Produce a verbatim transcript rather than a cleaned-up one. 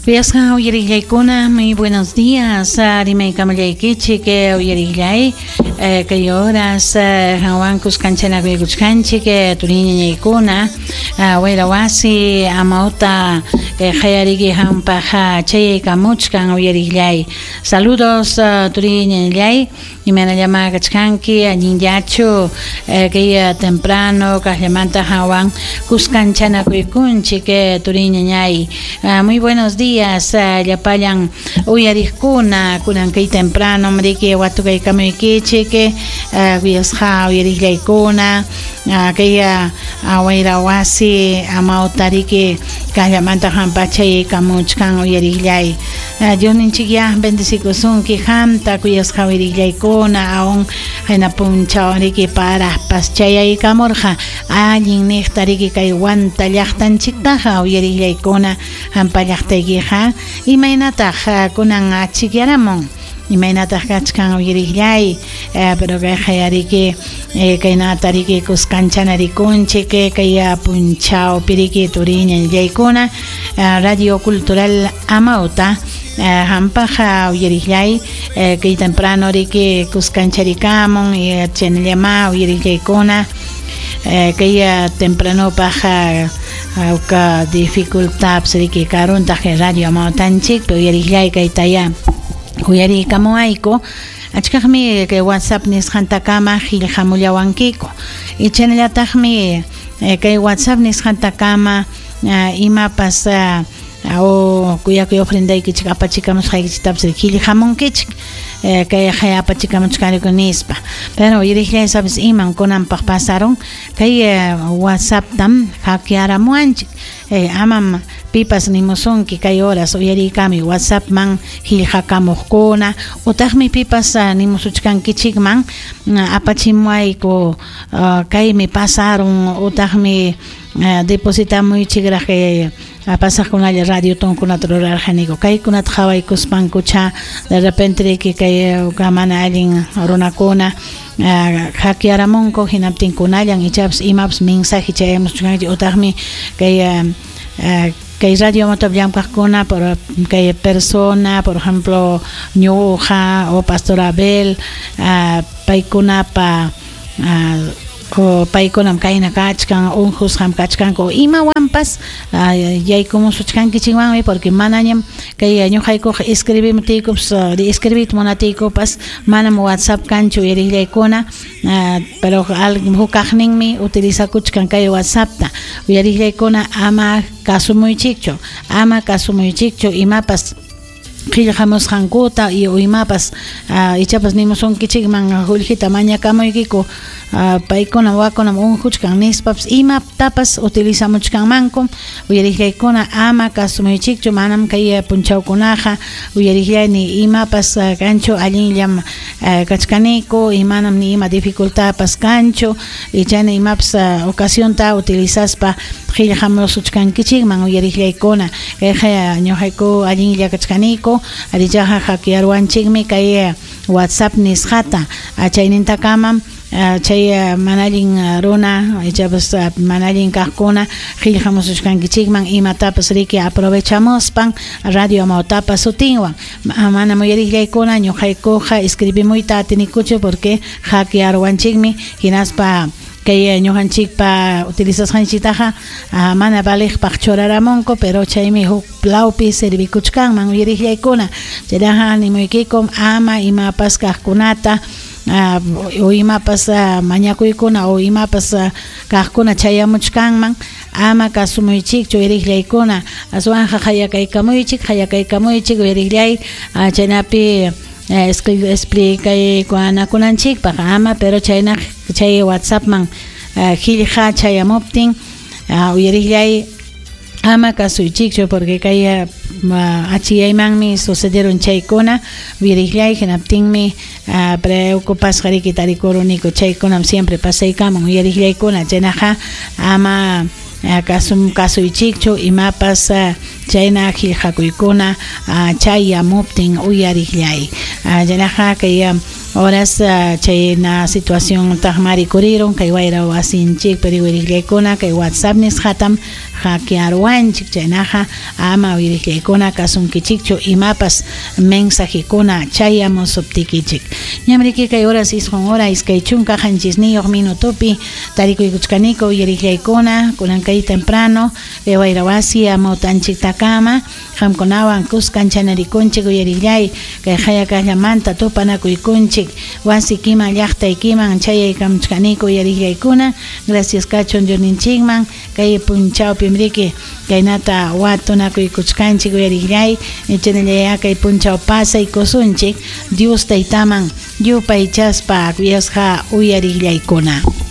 Kuyasqa uyariqllaykuna, muy buenos días. Rimaykamullaykichik uyariqllay kay horas qanwan kuskanchanakuchkanchik turiñañaykuna wayra wasi amawta qayariki hampaq chayaykamuchkan uyariqllay. Saludos turiñañallay, imaynallama kachkanki allinllachu kay temprano kaqllamanta qanwan kuskanchanakuykunchik turiñañay. Muy buenos días llapallan uyariqkuna kunan kay temprano mriki watukaykamuykichik kuyasqa uyariqllaykuna kay wayra wasi amawtariki kaqllamanta hampa chayaykamuchkan uyariqllay. Diosninchikya bendecikusunki qamta kuyasqa uyariqllaykuna aun hayna punchaw riki paraspas chayaykamurqa allin niqta riki kay Huanta llaqtanchiktaqa uyariqllaykuna hampa llaqtaykiqa imaynataq kunan achikyaramun imaynataq kachkan uyariqllay, pero kay qayariki kaynata riki kuskanchanarikunchik kay punchawpi riki turiñañallaykuna Radio Cultural Amauta hampaq uyariqllay kay temprano riki kuskancharikamun chaynallama uyariqllaykuna kay tempranopaq ka dificultad riki karuntaq radio amawtanchik uyariqllay kaytaya uyarikamuayku achkaqmi kay WhatsApp nisqantakama qillqamullawankiku chaynallataqmi kay WhatsApp nisqantakama imapas o kuyakuy ofrendaykichik apachikamusqaykichiktapas qillqamunkichik kay apachikamuchkaniku nispa pero uyariqllay sabes iman kunanpaq pasaron kay WhatsApptam hackearamuanchik amam pipas nimusunki kay horas uyarikami WhatsAppman qillqakamuqkuna utaqmi pipas nimusuchkankichikman apachimuayku kaymi pasaron utaqmi depositamuychikraq kay pasaqkunalla radio tonkunata rurarqaniku kaykunata qhawaykuspankucha de repente riki kay mana allin runakuna hackearamunku hinaptinkunallan ichapas imapas mensaje chayamuchkanchik utaqmi kay kay radio Amauta llamkaqkuna por kay persona por ejemplo ñuqa o Pastor Abel paykunapa o paykunam kayna kachkan unqusqam kachkanku imawanpas yaykumusuchkankichikwanmi porque manañam kay ñuqaykuqa escribimtiykupas escribiyta munatiykupas manam WhatsApp kanchu uyariqllaykuna pero hukaqninmi utilizakuchkan kay WhatsAppta uyariqllaykuna ama kasumuychikchu ama kasumuychikchu imapas qillqamusqankuta y imapas ichapas nimusunkichikman qullqita mañakamuykiku paykuna wakunam unquchkan nispapas imatapas utilizamuchkanmanku uyariqllaykuna ama kasumuychikchu manam kay punchawkunaqa uyariqllay ni imapas kanchu allinllam kachkaniku y manam ni ima dificultadpas kanchu y chayna imapas ocasionta utilizaspa qillqamusuchkankichikman uyariqllaykuna kayqa ñuqayku allinlla kachkaniku arichaqa hackearwanchikmi kay WhatsApp nisqata chaynintakamam chay mana allin runa ichapas mana allin kaqkuna qillqamusuchkankichikman imatapas riki aprovechamuspan Radio Amautapa sutinwan manam uyariqllaykuna ñuqaykuqa escribimuyta atinikuchu porque hackearwanchikmi hinaspa kay ñuqanchikpa utilizasqanchiktaqa mana valiqpaq churaramunku pero chaymi huk lawpi servikuchkanman uyariqllaykuna chayraqa nimuykikum ama imapas kaqkunata o imapas mañakuykuna o imapas kaqkuna chayamuchkanman ama kasumuychikchu uyariqllaykuna aswanqa qayakaykamuychik qayakaykamuychik uyariqllay chaynapi explicaykunakunanchikpaq ama pero chayna chay WhatsAppman qillqa chayamuptin uyariqllay ama kasuychikchu porque kay achiyaymanmi sucedieron chaykuna uyariqllay hinaptinmi preocupasqa riki tarikuruniku chaykunam siempre pasaykamun uyariqllaykuna chaynaqa ama kasum kasuychikchu imapas chayna qillqakuykuna chayamuptin uyariqllay chaynaqa kay horas chayna situación taqmari kuriron kay wayra wasinchik pero uyariqllaykuna kay WhatsApp nisqatam hackearuwanchik. Chaynaqa ama uyariqllaykuna kasunkichikchu imapas mensajekuna chayamusuptikichik. Ñamriki kay horas isqun hora iskay chunka qanchisniyuq minutopi tarikuykuchkaniku uyariqllaykuna kunan kay temprano kay wayrawasi amawtanchiktakama qamkunawan kuskan chanarikunchik uyariqllay kay hayakayllamanta tupanakuykunchik wasikiman llaqtaykiman chayaykamuchkaniku uyariqllaykuna. Gracias kachun Diosninchikman kay punchawpimriki kaynata watunakuykuchkanchik uyariqllay chaynallaya kay punchaw pasaykusunchik Dios taytaman yupaychaspa kuyasqa uyariqllaykuna.